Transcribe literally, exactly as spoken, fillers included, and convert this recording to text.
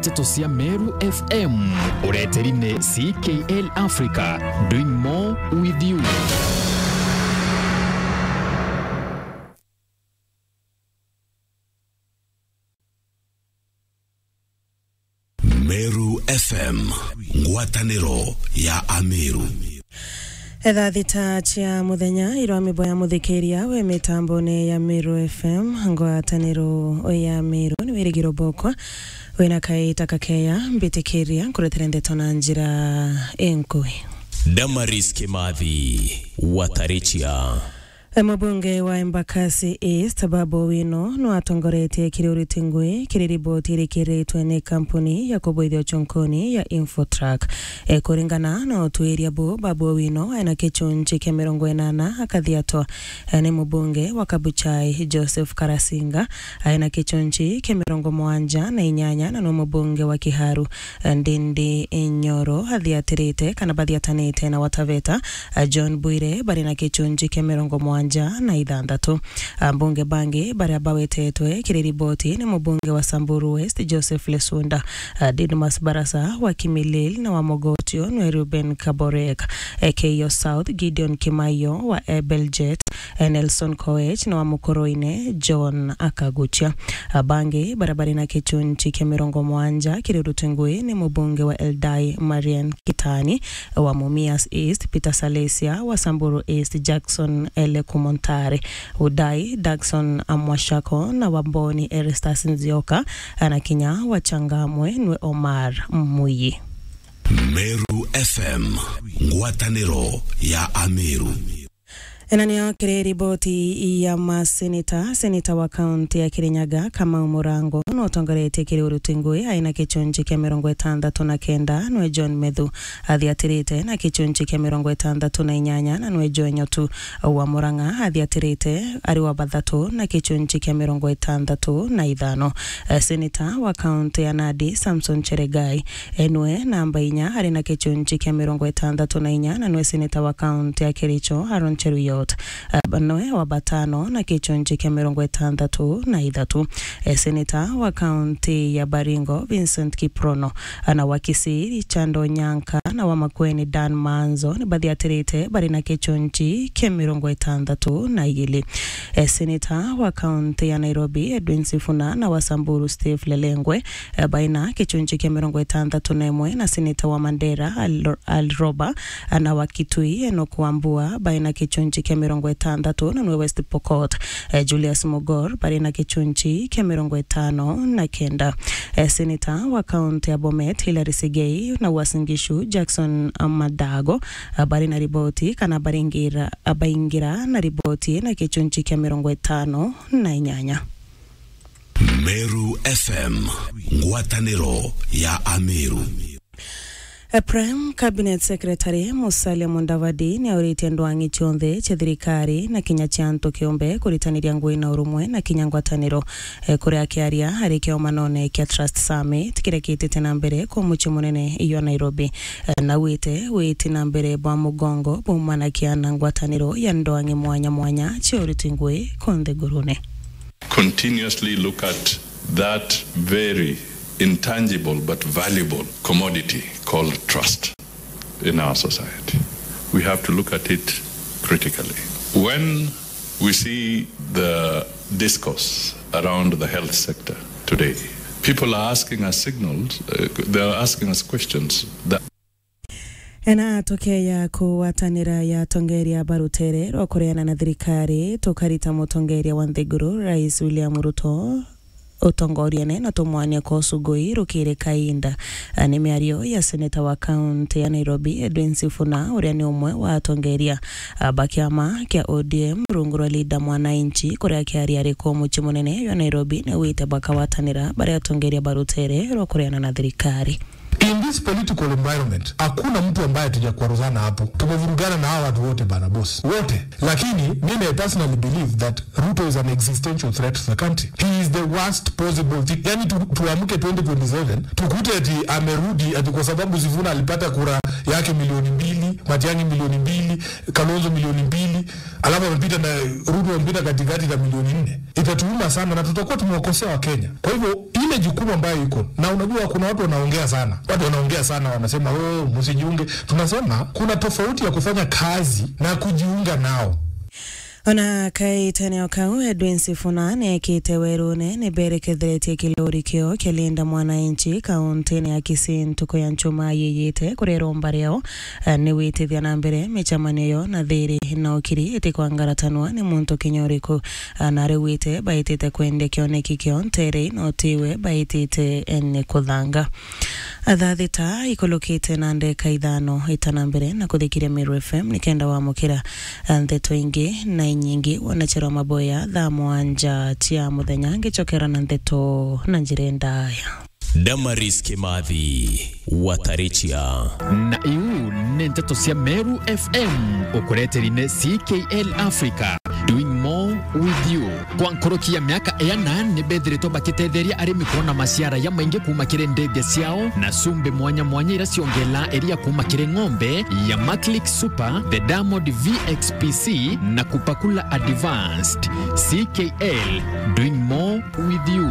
Nteto cia Meru F M, ureteri ni C K L Africa, doing more with you. Meru F M, ngwataniro ya Ameru. Etha thita cia muthenya, irwa mibo ya muthikiria we mitambone ya Meru F M, ngwataniro ya Meru, ni wirigiro bokwa wina kaita kakeya, mbitikiria nkuretere ndeto na njira inkui. Damaris Kimathi, Watarichia. E, mubunge wa Embakasi East, Babu Owino, nwatongoretie kiri uriti ngui kiri riboti irikiritwe ni kampuni ya kubuithia uchunkuni ya Infotrack. E, kuringana na utuiria bu, Babu Owino aina kichunchi kia mirongo inana akathiatwa, e, ni mubunge wa Kabuchai, Joseph Karasinga, aina kichunchi kia mirongo mwanja na inyanya, na no mubunge wa Kiharu, Ndindi Nyoro athiatirite kana bathiatanite na Wataveta, a, John Bwire bari na kichunchi kia mirongo mwanja na ithanthatu. Ambunge bangi baria bawetetwe kiri riboti ni mubunge wa Samburu West, Joseph Lesunda, a, Didmus Barasa wa Kimilili, na wa Mogotio nwe Reuben Kaborek, e, Keiyo South, Gideon Kimaio wa Ebeljet, e, Nelson Koech, na wa Mukoroine John Akaguchia. Abangi baria bari na kichunchi kia mirongo mwanja kiri uriti ngui ni mubunge wa Eldai Marian Kitani, wa Mumias East, Peter Salesia wa Samburu East, Jackson Ele Kumontare, Udai Daxon Amwashako, na wa Mboni Eristas Nzioka, na kinya wa Changamwe nwe Omar Muyi. Meru F M, ngwataniro ya Ameru. Ena niyo kiri riboti ya maseneta. Seneta wa kaunti ya Kirinyaga, Kamau Murango, no utongoretie kiri uriti ngui aina kichunchi kia mirongo itandatu na kenda, nwe John Methu athiatirite na kichunchi kia mirongo itandatu na inyanya, na nwe Joe Nyotu wa Murang'a athiatirite ari wa bathatu na kichunchi kia mirongo itandatu na ithano. Eh, seneta wa kaunti ya Nandi, Samson Cheregai, e, nwe namba inya ari na kichunchi kia mirongo itandatu na inya, na nwe seneta wa kaunti ya Kericho, Aaron Cheruiyot, e, nwe wa batano na kichunchi kia mirongo itandatu na ithatu. E, seneta wa kaunti ya Baringo, Vincent Kiprono, na wa Kisii, Richard Onyanka, na wa Makueni, Dan Manzo, ni bathiatirite bari na kichunchi kia mirongo itandatu na igiri. E, seneta wa kaunti ya Nairobi, Edwin Sifuna, na wa Samburu, Steve Lelengwe, e, baina kichunchi kia mirongo itandatu na imwe, na seneta wa Mandera, Al-, Al Roba, na wa Kitui, Enoch Wambua, baina kichunchi kia mirongo itandatu, na nwe West Pokot, e, Julius Mogor, bari na kichunchi kia mirongo itano na kenda. E, seneta wa kaunti ya Bomet, Hilary Sigei, na Uasin Gishu, Jackson Madago, a, bari na riboti kana baringira, a, baingira na riboti na kichunchi kia mirongo itano na inyanya. Meru F M, ngwataniro ya Ameru. A, Prime Cabinet Secretary Musalia Mudavadi ni auritie ndwang'i cionthe cia thirikari na kinya cia antu kiumbe kuritaniria ngui na urumwe na kinya ngwataniro. E, kuria akiaria ari kiomanone kia Trust Summit kiria kiitite na mbere kwa mucii munene jwa Nairobi, e, na augite witi na mbere bwa mugongo bumanakia na ngwataniro ya ndwang'i mwanya mwanya cia uriti ngui kunthe ngurune. Continuously look at that very intangible but valuable commodity called trust in our society. We have to look at it critically. When we see the discourse around the health sector today, people are asking us signals, uh, they are asking us questions that Ena tukeya kugwatanira ya atongeria ba rutere rwa kureana na thirikari, tukarita mutongeria wa nthiguru, Rais William Ruto, utongoriene na tumwania kwa ucugui rukiri kainda. Ni miario ya seneta wa kaunti ya Nairobi, Edwin Sifuna, uria ni umwe wa atongeria ba kiama kia O D M rungu rwa Linda Mwananchi, kuria akiaria ari ku mucii munene jwa Nairobi, ni augite bakagwatanira bari atongeria ba rutere rwa kureana na thirikari. In this political environment, hakuna mtu ambaye hatujakwaruzana hapo. Tumevurugana na hawa watu wote bana boss. Wote. Lakini mimi I personally believe that Ruto is an existential threat to the country. He is the worst possible thing. Yani tu, tuamke twenty twenty-seven, tukute ati amerudi ati kwa sababu Sifuna alipata kura yake milioni mbili, Matiang'i milioni mbili, Kalonzo milioni mbili, alafu amepita na Ruto amepita katikati na milioni nne. Itatuuma sana na tutakuwa tumewakosea Wakenya. Kwa hivyo, Ile jukumu ambayo iko. Na unajua kuna watu wanaongea sana. Watu wanaongea sana, wanasema, "Oh, msijiunge." Tunasema kuna tofauti ya kufanya kazi na kujiunga nao. Ona kaitene o kau, Edwin Sifuna neekite werune ni bereketheretie kilori kio kia Linda Mwananchi kauntine ya Kisii ntuku ya Njumaa yiyite kuria iromba riao, eh, ni witithia na mbere micemanio yo na thiri na ukiri itikwangaratanwa ni muntu kinya uriku. Ah, na riu wite baitite kwendia kioneki kio ntere na utiwe baitite, eh, ni kuthanga. Thaa thita ikulukite na ndeka ithano, itana mbere na kuthikiria Meru F M nikenda wamukira, ah, ndeto ingi na inyingi. Wanachero maboya thaa mwanja cia muthenya ngicokera na ndeto na njira ndaya. Damaris Kimathi, Watarichia. Na iu ni nteto cia Meru F M, ukureteri ni C K L Africa, doing more with you. Kwa nkuruki ya miaka iana, ni bethiritwe bakitetheria arimi kwona maciara jamaingi kuuma kiri ndithia ciao, na cumbi mwanya mwanya iria ciongelaa iria kuuma kiri ng'ombe ya Maclick Super, the Diamond V X P C, na Kupakula Advanced. C K L, doing more with you.